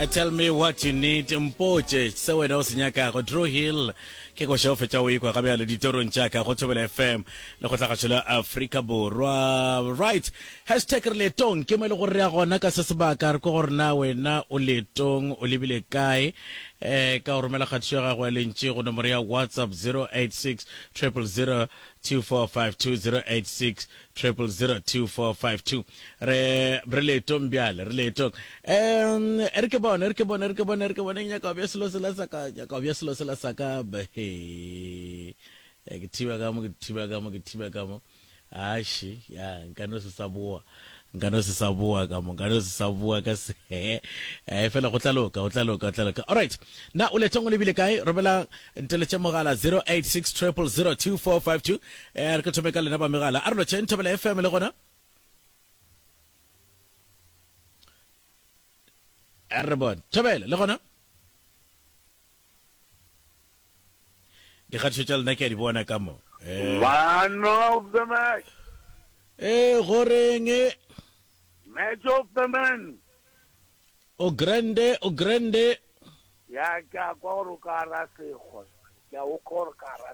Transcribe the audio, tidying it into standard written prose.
Tell me what you need, mpotše se wena o se nyakago. Dru Hill ke koša o fetša o ekwa ga bjale ditorong tša ka go Thobela FM le go tlagašo la Afrika Borwa. Right, hashtag re leetong ke mo e le gore re ya gona ka se sebaka re kwa gore na wena o leetong o lebile kae eh ka go romela kgatišo ya gago ya lentši go nomoro ya WhatsApp 086 000 2452 086 0002452 re re leetong bjale re leetong um e re ke bone e re ke bone e re ke bone e re ke bone nyaka bja selo sela sa ka nyaka bja selo sela sa ka he eh, ke thiba ka mo ke thiba ka mo ke thiba ka mo aši ya nka no se sa boa nka no se sa boa ka mo nka no se sa boa ka se eh fela go tla loka go tla loka go tla loka all right na o letong o lebile kae romela nteletše mogala 086 000 2452 eh re ke thome ka lena ba megala a re lotšheng thobela fm le gona a re bone thobela le gona dikgatišo tša lena ke a di bona ka mo eh. Man of the match. Eh, goreng Match of the man. O grande, o grande. Ya ke a kwa gore o ka ra sekgwa. Ke a o kwa gore ka ra.